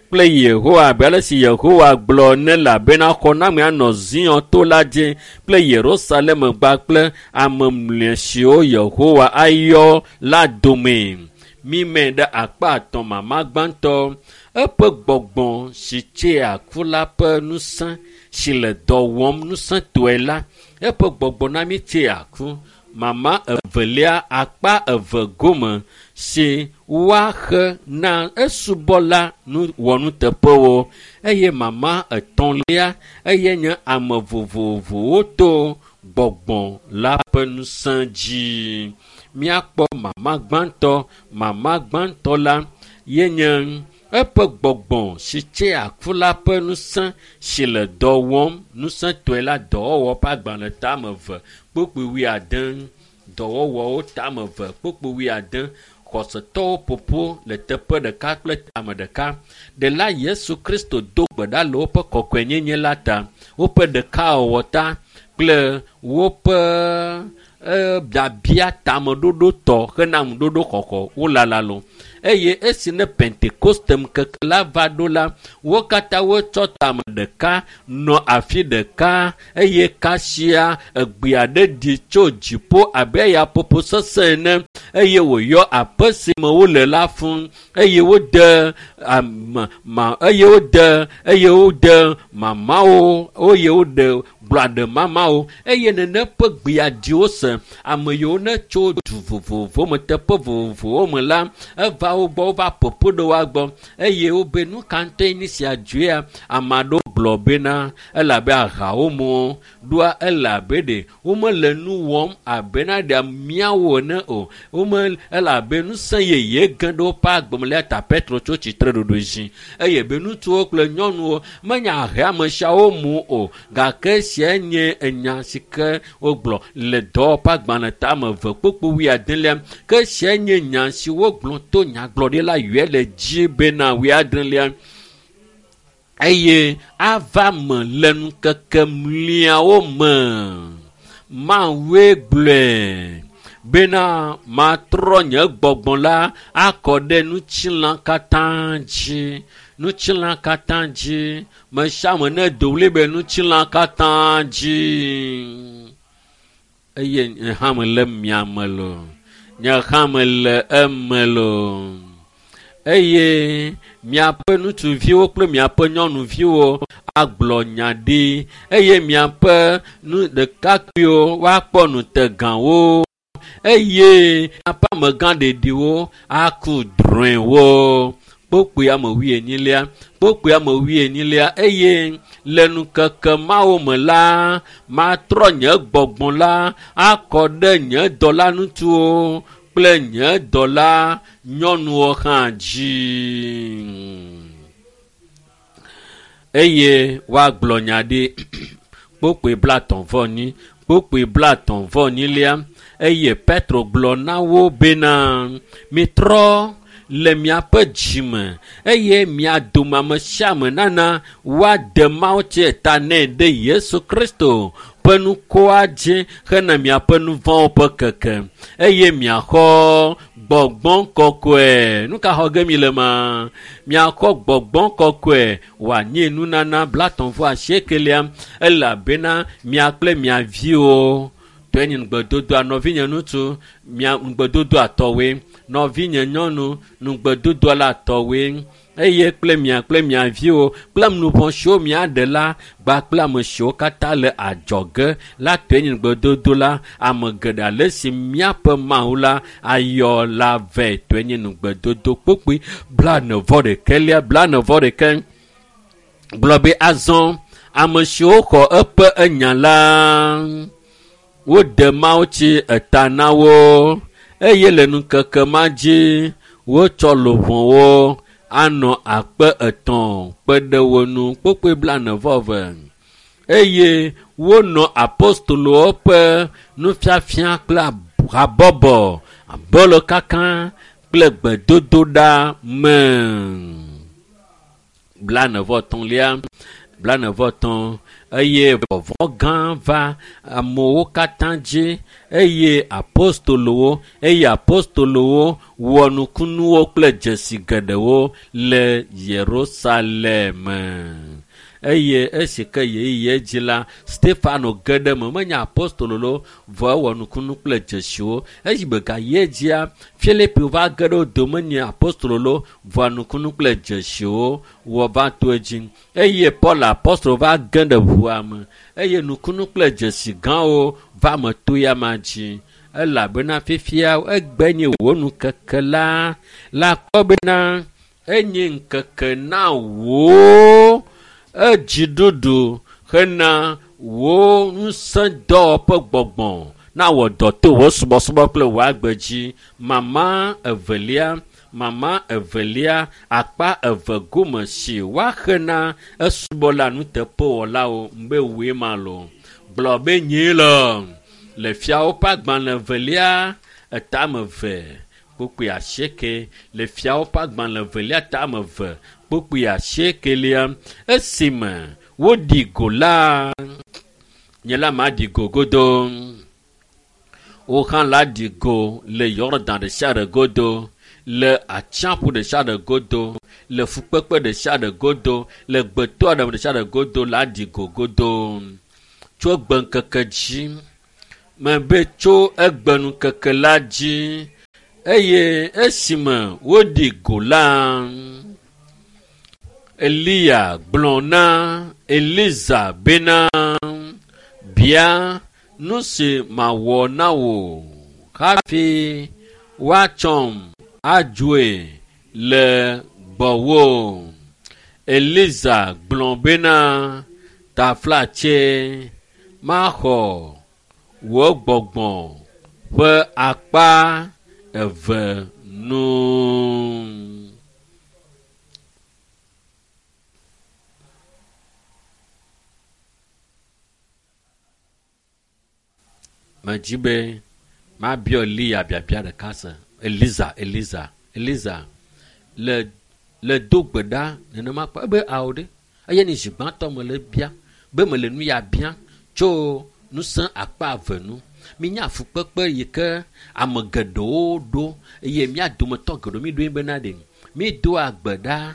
kple Yehowa abe ale si Yehowa gblɔ ene elabena xɔname anɔ Zion to la dzi kple Yerusalem gba kple ame mlɔe siwo Yehowa ayɔ la dome. Mime ɖe akpa atɔ̃ mama gbãtɔ eƒe gbɔgbɔ si tsea ku la ƒe ŋusẽ si le dɔ wɔm ŋusẽtɔe la eƒe gbɔgbɔ na mí tsea ku. Mama evelia akpa eve gome si woaxe na esubɔla nu wɔnuteƒewo eye mama etɔ̃lia eye nye ame vovovowo to gbɔgbɔ la ƒe ŋusẽ dzi. Míakpɔ mama gbãtɔ mama gbãtɔ la yenye Eƒe gbɔgbɔ si tse aku la ƒe ŋusẽ si le dɔ wɔm ŋusẽtɔe la dɔwɔwɔ ƒe agbalẽ tame eve kpukpui wuiade dɔwɔwɔwo tame eve kpukpui wuiade xɔsetɔwo ƒoƒo le teƒe ɖeka kple tame ɖeka. Ɖela Yesu Kristo do gbe ɖa le woƒe kɔkɔenyenye la ta, woƒe ɖekawɔwɔ ta kple woƒe biabia tameɖoɖo tɔ hena ŋuɖoɖo xɔxɔ wolala lo. Eye esi ne Pentekoste ŋkeke la va ɖo la, wo katã wotsɔ tame ɖeka nɔ afi ɖeka eye kasia egbe aɖe ɖi tso dziƒo abe yaƒoƒo sesẽ ene eye wòyɔ aƒe si me wole la fũ eye wode ame ma eye wode eye wode mamawo eye wode gblɔ aɖe mamawo eye nene ƒe gbea dzi wose ame yiwo ne tso du vovovowo me teƒe vovovowo me la eva wo gbɔ wova ƒoƒo ɖe woa gbɔ eye wobe nu ka ŋutɔe nye sia dzoea ame aɖewo gblɔ bena elabe ahawo mu ɖoa elabe ɖe womele nu wɔm abe na ɖe míawo ene o wome elabe ŋusẽ yeye ge ɖe woƒe agbe me le ta Petro tso tsitre ɖoɖo dzi eye be ŋutsuwo kple nyɔnuwo menye ahe ame siawo mu o gake esia nye enya si ke wogblɔ le dɔwɔƒe agbalẽ tame eve kpukpui wuiadelia ke esia nye nya si wogblɔ to nyagblɔɖila Yoel dzi bena wuiadrelia eye ava me le ŋkeke mliawo me Mawue gblɔe bena matrɔ nye gbɔgbɔ la akɔ ɖe ŋutilã katã dzi ŋutilã katã dzi me sia ame ne do ɣli be ŋutilã katã dzi eye nye hã mele mia me loo nye hã mele eme loo eye miaƒe ŋutsuviwo kple miaƒe nyɔnuviwo agblɔ nya ɖi eye miaƒe nu ɖekakpuiwo woakpɔ nutegawo eye miaƒe amegã ɖeɖiwo aku drɔ̃ewo. Kpukpui ame wuienyilia kpukpui ame wuienyilia eye le ŋkeke mawo me la matrɔ nye gbɔgbɔ la akɔ ɖe nye dɔla ŋutsuwo kple nye dɔla nyɔnuwo hã dzi eye woagblɔ nya ɖi kpukpui blaetɔ̃ vɔ enyi kpukpui blaetɔ̃ vɔ enyilia eye Petro gblɔ na wo bena mitrɔ le miaƒe dzime eye mia dome ame sia ame nana woade mawutsi ta nɛ ɖe Yesu Kristo ƒe ŋkɔa dzi hena miaƒe nu vɔ̃wo ƒe keke eye miaxɔ gbɔgbɔ kɔkɔe. Nu ka xɔ ge mi le ma? Miaxɔ gbɔgbɔ kɔkɔe wòanye nunana blaetɔ̃ vɔ asiekelia elabena mia kple mia viwo tɔe nye ŋugbedodoa nɔvinye ŋutsu mia ŋugbedodoa tɔwoe nɔvinye nyɔnu ŋugbedodoa la tɔwoe eye kple mia kple mia viwo kple nuʋɔ siwo miaɖe la kpakple ame siwo katã le adzɔge la tɔe nye ŋugbedodo la ame geɖe ale si míaƒe Mawu la ayɔ la vɛ tɔe nye ŋugbedodo kpukpui blaene vɔ ɖekɛlia blaene vɔ ɖeke gblɔ be azɔ ame siwo xɔ eƒe enya la wode mawutsi eta na wo eye le ŋkeke ma dzi wotsɔ luʋɔwo anɔ akpe etɔ̃ kpe ɖe wo ŋu kpukpui blaene vɔ eve eye wonɔ apostolowo ƒe nufiafia kple habɔbɔ abolo kaka kple gbedodoɖa me blaene vɔ etɔ̃lia blaene vɔ etɔ̃ eye vɔvɔ̃ gã va amewo katã dzi eye apostolowo eye apostolowo wɔ nukunuwo kple dzesi geɖewo le Yerusalem. Eye esi ke ɣeyiɣi dzi la Stefano ge ɖe eme menye apostolo lo vɔ ewɔ nukunu kple dzesiwo esi gbegayi edzia Filipo va ge ɖe wo dome nye apostolo lo vɔ nukunu kple dzesiwo wɔ va to edzi eye Paul apostolo va ge ɖe ʋua me eye nukunu kple dzesi gãwo va me to ya ma dzi elabena fifia egbe nye wò ŋkeke la la kpɔ bena enye ŋkeke na wò edziɖuɖu hena wò ŋusẽdɔwɔƒe gbɔgbɔ na wɔ dɔ to wò subɔsubɔ kple wò agbe dzi. Mama evelia Mama evelia akpa eve gome si woaxe na esubɔla nuteƒewɔlawo be woe ma lo. Gblɔ be nyee le le fiawo ƒe agbalẽ evelia etame eve kpukpui asieke le fiawo ƒe agbalẽ evelia tame eve kpukpui asiekelia esime woɖi go la nye la maɖi go godo. Wo hã la ɖi go le Yɔdan ɖe sia ɖe godo, le atsiaƒu ɖe sia ɖe godo, le fukpekpe ɖe sia ɖe godo, le gbetɔ ɖe sia ɖe godo la ɖi go godo. Tso egbeŋkeke dzi, mebe tso egbeŋkeke la dzi eye esime woɖi go la, Eliya gblɔ na Eliza bena, bia nu si mawɔ na wò hafi woatsɔm adzoe le gbɔwò. Eliza gblɔ bena, taflatse maxɔ wò gbɔgbɔ ƒe akpa eve nu. Medzi be mabiɔ Eliya biabia ɖeka se. Eliza, Eliza, Eliza le le do gbe ɖa nenema kpɔ ebe awo ɖe eye ni zi gbãtɔ me le bia be me le nu ya bia tso ŋusẽ akpa eve nu. Minya fukpekpe yi ke ame geɖewo ɖo eye mía dometɔ geɖewo mi ɖoe bena ɖe mi doa gbe ɖa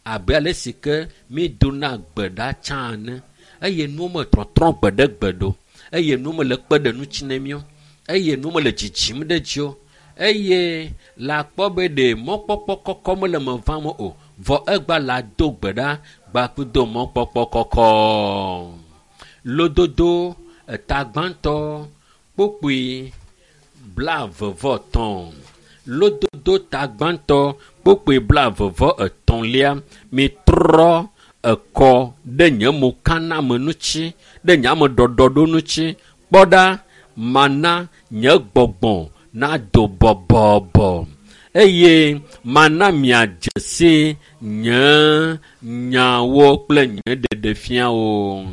abe ale si ke mi dona gbe ɖa tsã ene eye nuwo me trɔtrɔ gbe ɖe gbe ɖo eye nuwo me le kpe ɖe ŋuti na míwo eye nuwo me le dzidzim ɖe dzi o eye la kpɔ be ɖe mɔkpɔkpɔ kɔkɔ mele me vam o vɔ egba la do gbe ɖa gbakudo mɔkpɔkpɔ kɔkɔ. Lododo eta gbãtɔ kpukpui blaeve-vɔ-etɔ̃. Lododo ta gbãtɔ kpukpui blaeve-vɔ-etɔ̃lia mitrɔ ekɔ ɖe nye mokaname ŋuti ɖe nye ameɖɔɖɔɖo ŋuti kpɔ ɖa mana nye gbɔgbɔ nado bɔbɔbɔ eye mana miadze si nye nyawo kple nye ɖeɖefiawo.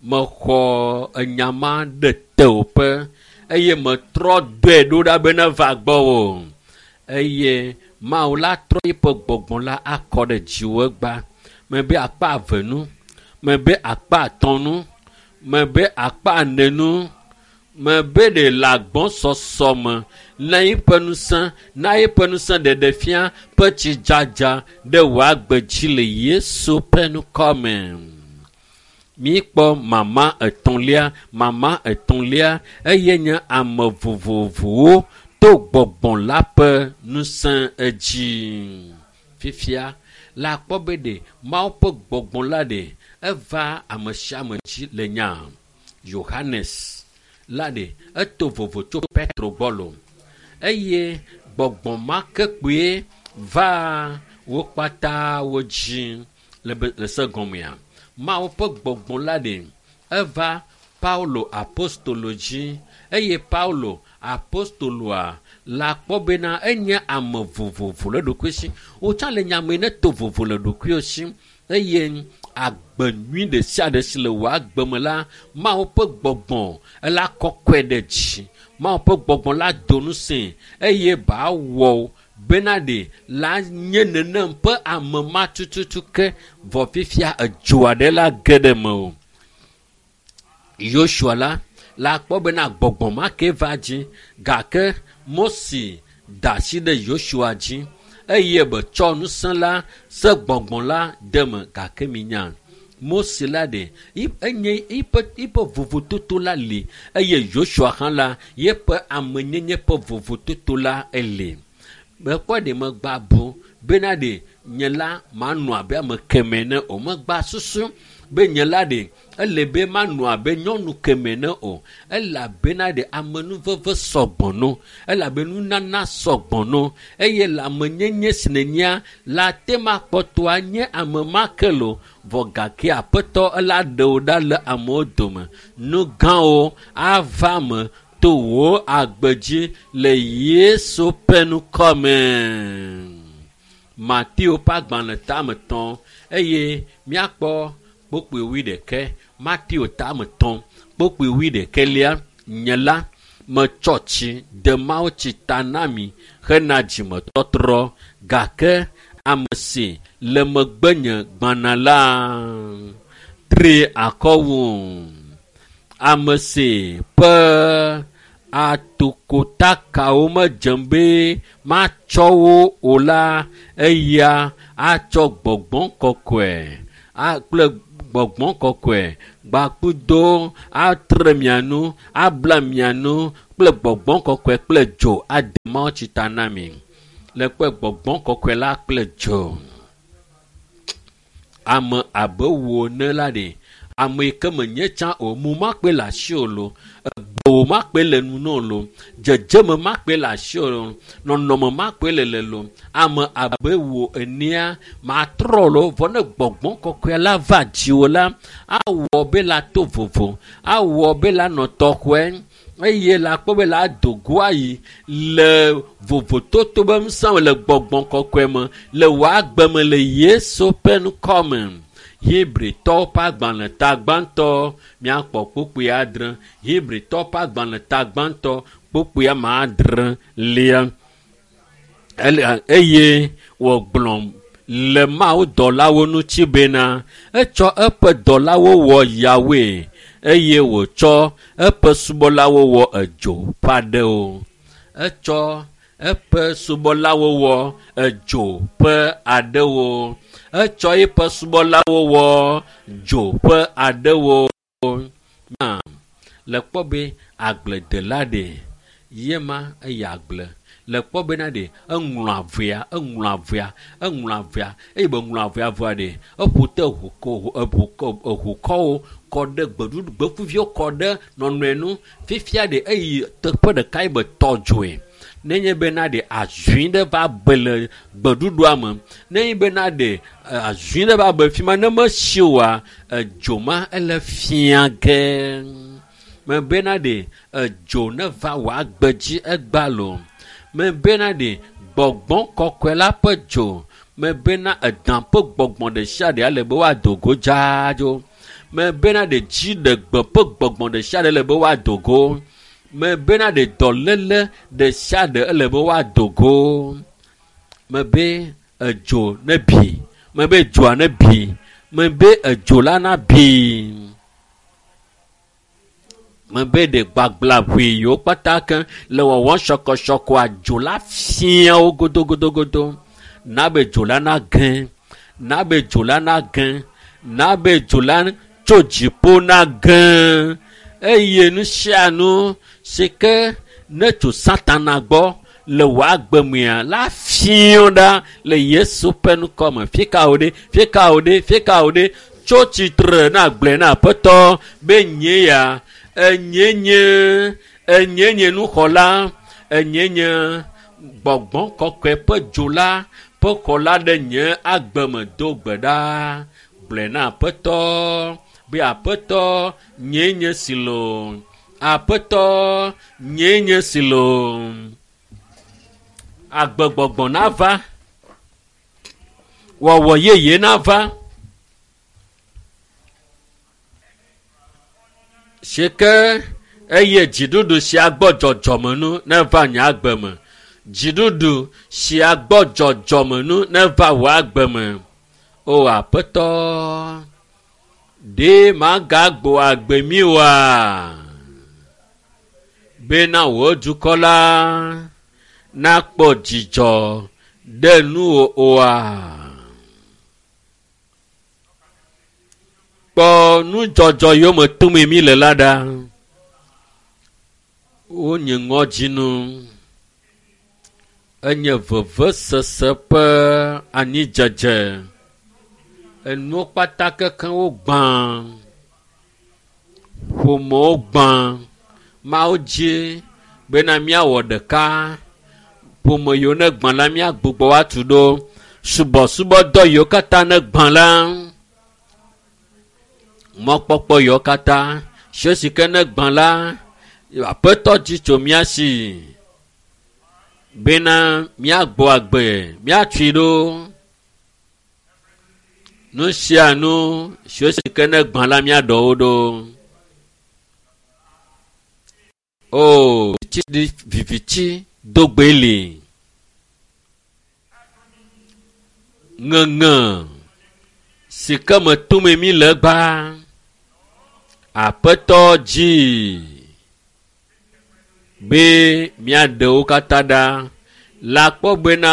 Mexɔ enya ma ɖe tewòƒe eye metrɔ dɔe ɖo ɖa be neva gbɔwò eye Mawu la trɔ eƒe gbɔgbɔ la akɔ ɖe dziwò egba. Mebe akpa eve nu, mebe akpa atɔ̃ nu, mebe akpa ene nu, mebe ɖe le agbɔsɔsɔ me na eƒe ŋusẽ, na eƒe ŋusẽ ɖeɖefia ƒe tsidzadza ɖe wò agbe dzi le Yesu ƒe ŋkɔ me. Míkpɔ mama etɔ̃lia, mama etɔ̃lia eye nye ame vovovowo to gbɔgbɔ la ƒe ŋusẽ edzi. Fifia la kpɔ be ɖe Mawu ƒe gbɔgbɔ la ɖe eva ame sia ame dzi le nya Yohanes la ɖe eto vovo tso Petro gbɔ lo eye gbɔgbɔ ma ke kpoe va wo kpata wo dzi le be le se gɔmea. Mawu ƒe gbɔgbɔ la ɖe eva Paulo apostolo dzi eye Paulo apostoloa la kpɔ bena enye ame vovovo le ɖokui si. Wotsã le nyame ne to vovo le ɖokuiwo si eye agbe nyui ɖe sia ɖe si le wò agbe me la, Mawu ƒe gbɔgbɔ ela kɔkɔe ɖe dzi. Mawu ƒe gbɔgbɔ la do ŋusẽe eye ba wɔ bena ɖe la nye nenem ƒe ame ma tututu ke vɔ fifia edzo aɖe la ge ɖe me o. Yosua la la kpɔ bena gbɔgbɔ ma ke va dzi gake Mose da asi ɖe Yosua dzi eye be tsɔ ŋusẽ la se gbɔgbɔ la de me gake minya Mose la ɖe enye eƒe eƒe vovototo la li eye Yosua hã la yeƒe amenyenye ƒe vovototo la eli. Mekpɔ ɖe megba bu bena ɖe nye la manɔ abe ame kemɛ ne o. Megba susu be nye la ɖe ele be manɔ abe nyɔnu kemɛ ne o. Elabena ɖe amenuveve sɔgbɔ no. Elabe nunana sɔgbɔ no. Eye le amenyenye si nènyea la te ma kpɔtɔa nye ame ma ke lo. Vɔ gake aƒetɔ ela ɖe wò ɖa le amewo dome. Nu gãwo ava me ato wò agbe dzi le Yesu ƒe ŋkɔ me. Mateo ƒe agbalẽ tame tɔ̃ eye míakpɔ kpokpoe wuiɖekɛ. Mateo tame tɔ̃ kpokpoe wuiɖekɛlia nye la metsɔ tsi de mawutsi ta na mi hena dzimetɔtrɔ gake ame si le megbenye gbana la tri akɔ wu ame si ƒe atokotakawo medzem be matsɔ wo o la eya atsɔ gbɔgbɔ kɔkɔe kple gbɔgbɔ kɔkɔe gbakudo atre mia nu abla mia nu kple gbɔgbɔ kɔkɔe kple dzo ade mawutsi ta na mi le kpe gbɔgbɔ kɔkɔe la kple dzo. Ame abe wò ene la ɖe ame yi ke menye tsã o mu makpe le asi o lo egbewo makpe le nu na o lo dzedzeme makpe le asi o lo nɔnɔme makpe le le lo ame abe wò enea matrɔ lo vɔ ne gbɔgbɔ kɔkɔe la va dziwò la awɔ be la to vovo awɔ be la nɔ tɔxɔe eye la kpɔ be la do go ayi le vovototo be ŋusẽ me le gbɔgbɔ kɔkɔe me le wò agbe me le Yesu ƒe ŋkɔ me. Hebritɔwo ƒe agbalẽ ta gbãtɔ míakpɔ kpukpui adre. Hebritɔwo ƒe agbalẽ ta gbãtɔ kpukpui ame adre lia. Eye wògblɔ le Mawu dɔlawo ŋuti bena etsɔ eƒe dɔlawo wɔ yawoe eye wòtsɔ eƒe subɔlawo wɔ edzo ƒe aɖewo. Etsɔ eƒe subɔlawo wɔ edzo ƒe aɖewo. Etsɔ eƒe subɔlawo wɔ dzo ƒe aɖewo. Le kpɔ be agbledela ɖe yema eyi agble. Le kpɔ bena ɖe eŋlɔ avea, eŋlɔ avea, eŋlɔ avea eye be ŋlɔ avea vɔa ɖe eƒo te ʋukɔ eʋukɔ eʋukɔwo kɔ ɖe gbeɖuɖu gbeƒuviwo kɔ ɖe nɔnɔe nu. Fifia ɖe eyi teƒe ɖeka yi be tɔ dzoe. Nenye bena ɖe azui ɖe va be le gbeɖuɖua me, nenye bena ɖe azui ɖe va be fi ma ne mesi oa, edzo ma ele fia ge. Mebena ɖe edzo ne va wò agbe dzi egba lo. Mebena ɖe gbɔgbɔ kɔkɔe la ƒe dzo. Mebena edã ƒe gbɔgbɔ ɖe sia ɖe ale be woado go dzaadzo. Mebena ɖe dziɖegbe ƒe gbɔgbɔ ɖe sia ɖe le be woado go. Mebena ɖe dɔléle ɖe sia ɖe ele be woado go. Mebe edzo ne bi. Mebe dzoa ne bi. Mebe edzo la na bi. Mebe ɖe gbagblaʋui yiwo kpata ke le wɔwɔm sɔkɔsɔkɔa dzo la fia wo godogodogodo. Na be dzo la na ge. Na be dzo la na ge. Na be dzo la tso dziƒo na ge. Eye nu sia nu si ke ne tso Satana gbɔ le wò agbe mea la fia ɖa le Yesu ƒe ŋkɔ me. Fika wò ɖe? Fika wò ɖe? Fika wò ɖe? Tso tsitre na gblɔe na Aƒetɔ be nye ya enye nye enye nye nuxɔla enye nye gbɔgbɔ kɔkɔe ƒe dzo la ƒe xɔla ɖe nye agbe me do gbe ɖa. Gblɔe na Aƒetɔ be Aƒetɔ nye nye si lo. Aƒetɔ nye nye si lo. Agbegbɔgbɔ nava. Wɔwɔ yeye nava. Si ke eye dziɖuɖu sia gbɔ dzɔdzɔme nu neva nye agbe me. Dziɖuɖu sia gbɔ dzɔdzɔme nu neva wò agbe me. O Aƒetɔ, ɖe magagbo agbe mi oa? Bena wò dukɔ la nakpɔ dzidzɔ ɖe nuwò oa? Kpɔ nudzɔdzɔ yiwo me tom mi le la ɖa. Wonye ŋɔdzinu. Enye vevesese ƒe anyidzedze. Enuwo kpata kekeŋ wogbã. Ƒomewo gbã. Mawu dzi bena míawɔ ɖeka. Ƒome yiwo ne gbã la míagbugbɔ woatu ɖo. Subɔsubɔdɔ yiwo katã ne gbã la, mɔkpɔkpɔ yiwo katã, si si ke ne gbã la, Aƒetɔ dzi tso mía si bena míagbɔ agbe, míatui ɖo. Nu sia nu siwo si ke ne gbã la míaɖɔ wo ɖo. O, viviti dogbe li. Ŋeŋe si ke me tome mí le gba. Aƒetɔ dzi be míaɖe wo katã ɖa. Le akpɔ bena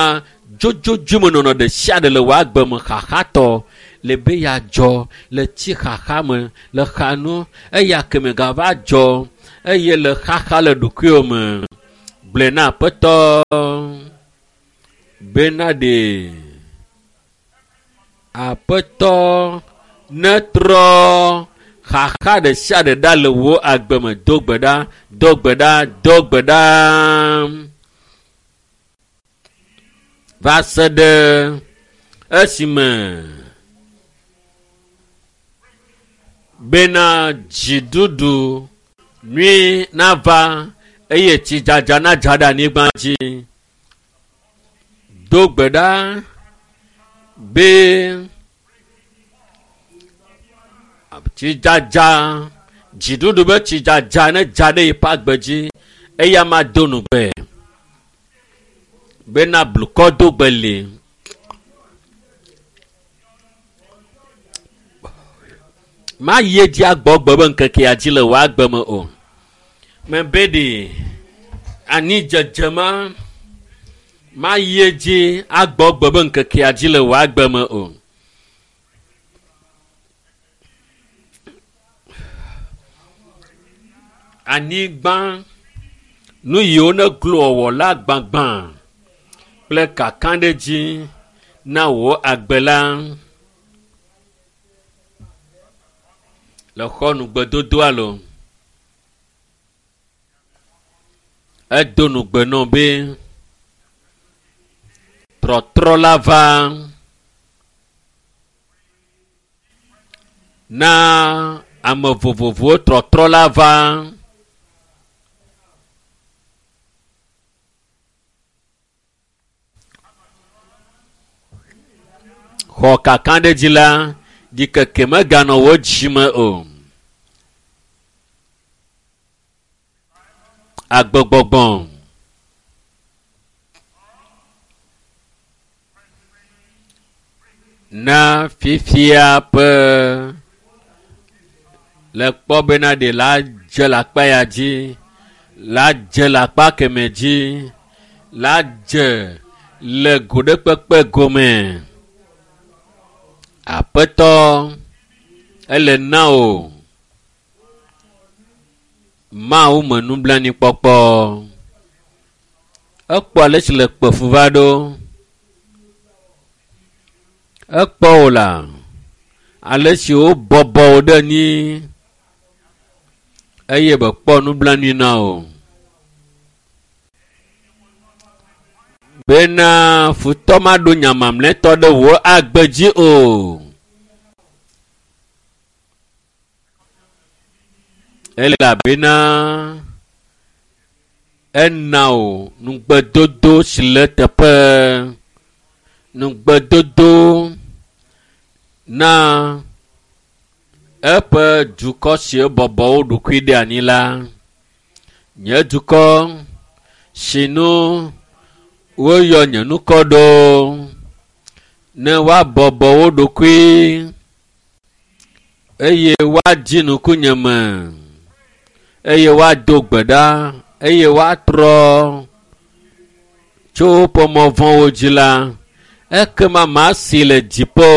dzodzodzoemenɔnɔ ɖe sia ɖe le wò agbe me xaxatɔ le be yeadzɔ le tsi xaxa me le xanu eya keme gava dzɔ eye le xaxa le ɖokuiwò me. Gblɔe na Aƒetɔ bena ɖe Aƒetɔ netrɔ xaxa ɖe sia ɖe ɖa le wò agbe me. Do gbe ɖa, do gbe ɖa, do gbe ɖa. Va se ɖe esime bena dziɖuɖu nyui nava eye tsidzadza nadza ɖe anyigba dzi. Do gbe ɖa be tsidzadza, dziɖuɖu be tsidzadza ne dza ɖe yeƒe agbe dzi eya ma do nugbe bena blukɔ do gbe li. Ma yi edzi agbɔ gbe be ŋkekea dzi le wò agbe me o. Mebe ɖe anyi dzedze ma ma yi edzi agbɔ gbe be ŋkekea dzi le wò agbe me o. Anyigba nu yiwo ne glo wɔwɔ la gbagbã kple kakaɖedzi na wò agbe la. Le xɔ nugbedodo alo edo nugbe nɔ be trɔtrɔ la va na ame vovovowo trɔtrɔ la va. Xɔ kakaɖedzi la ɖikeke meganɔ wò dzime o. Agbegbɔgbɔ na fifia ƒe le kpɔ bena ɖe la dze le akpa ya dzi, la dze le akpa keme dzi, la dze le go ɖe kpekpe gome. Aƒetɔ ele na o. Mawu me nublanuikpɔkpɔ. Ekpɔ ale si le kpe fu va ɖo. Ekpɔ wò la ale si wobɔbɔ wò ɖe anyi eye be kpɔ nublanui na wò. Bena futɔ maɖo nya mamlɛtɔ ɖe wò agbe dzi o. Elabena ena wò nugbedodo si le teƒe. Nugbedodo na eƒe dukɔ si bɔbɔ wo ɖokui ɖe anyi la. Nye dukɔ si nu woyɔ nye ŋkɔ ɖo ne woabɔbɔ wo ɖokui eye woadzi ŋkunye me eye woado gbe ɖa eye woatrɔ tso woƒe mɔ vɔ̃wo dzi la, ekema masi le dziƒo.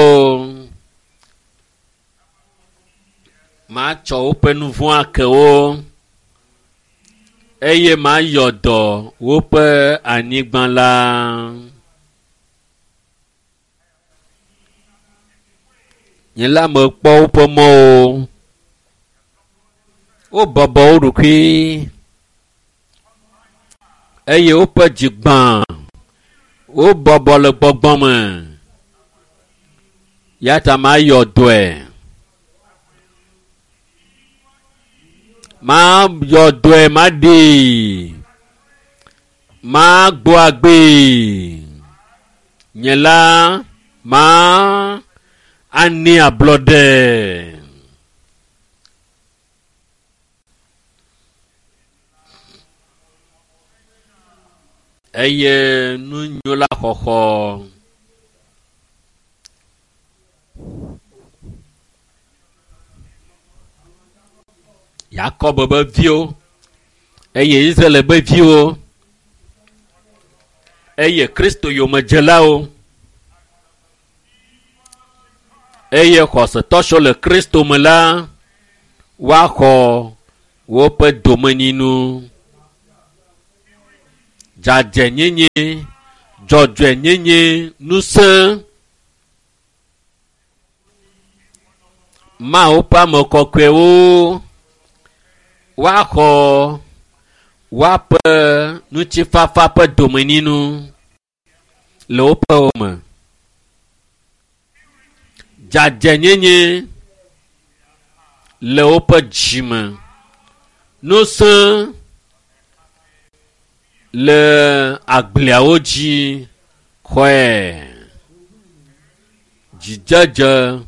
Matsɔ woƒe nu vɔ̃ ake wo eye mayɔ dɔ woƒe anyigba la. Nye la mekpɔ woƒe mɔwo. Wobɔbɔ wo ɖokui eye woƒe dzi gbã. Wobɔbɔ le gbɔgbɔ me. Ya ta mayɔ dɔe. Ma yɔ dɔe ma ɖee. Ma gbɔ agbee. Nye la ma ani ablɔɖe. Eye nu nyo la xɔxɔ. Yakob be viwo eye Israel be viwo eye Kristo yomedzelawo eye xɔsetɔ siwo le Kristo me la woaxɔ woƒe domenyinu. Dzadzɛnyenye, dzɔdzɔenyenye, ŋusẽ. Mawu ƒe ame kɔkɔewo woaxɔ woaƒe ŋutifafa ƒe domenyinu le woƒe wo me. Dzadzɛnyenye le woƒe dzime. Ŋusẽ le agbleawo dzi xɔe. Dzidzedze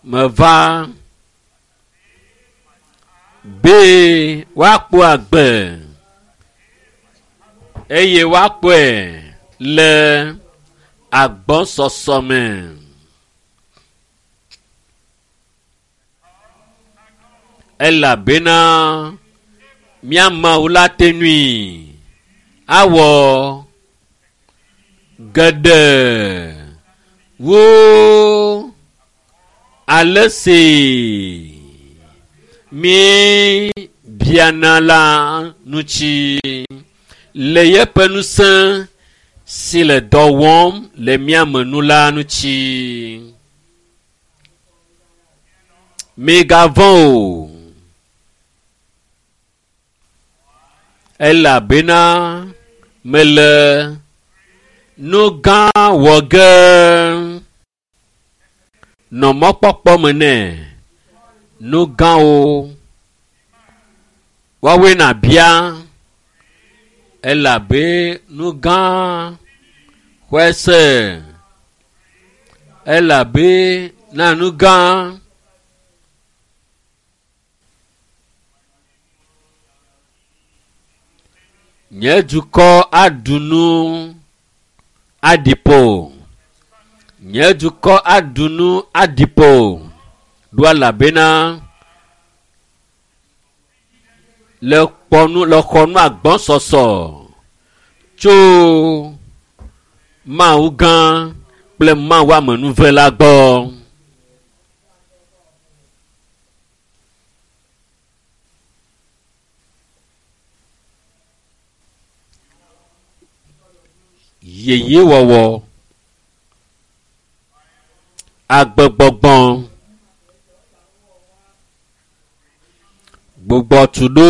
meva be woakpɔ agbe eye woakpɔe le agbɔsɔsɔ me. Elabena mía Mawu la te nui awɔ geɖe wu ale si mi biana la ŋuti le yeƒe ŋusẽ si le dɔ wɔm le mía me nu la ŋuti. Migavɔ̃ o, elabena mele nu gã wɔ ge. Nɔ mɔkpɔkpɔ me nɛ. Nu gãwo woawoe nàbia elabe nu gã xɔe se elabe na nu gã. Nye dukɔ aɖu nu aɖi ƒo. Nye dukɔ aɖu nu aɖi ƒo. Ɖo elabena le kpɔnu le xɔnu agbɔsɔsɔ tso Mawu gã kple Mawu amenuve la gbɔ. Yeyewɔwɔ, agbegbɔgbɔ, gbugbɔtuɖo.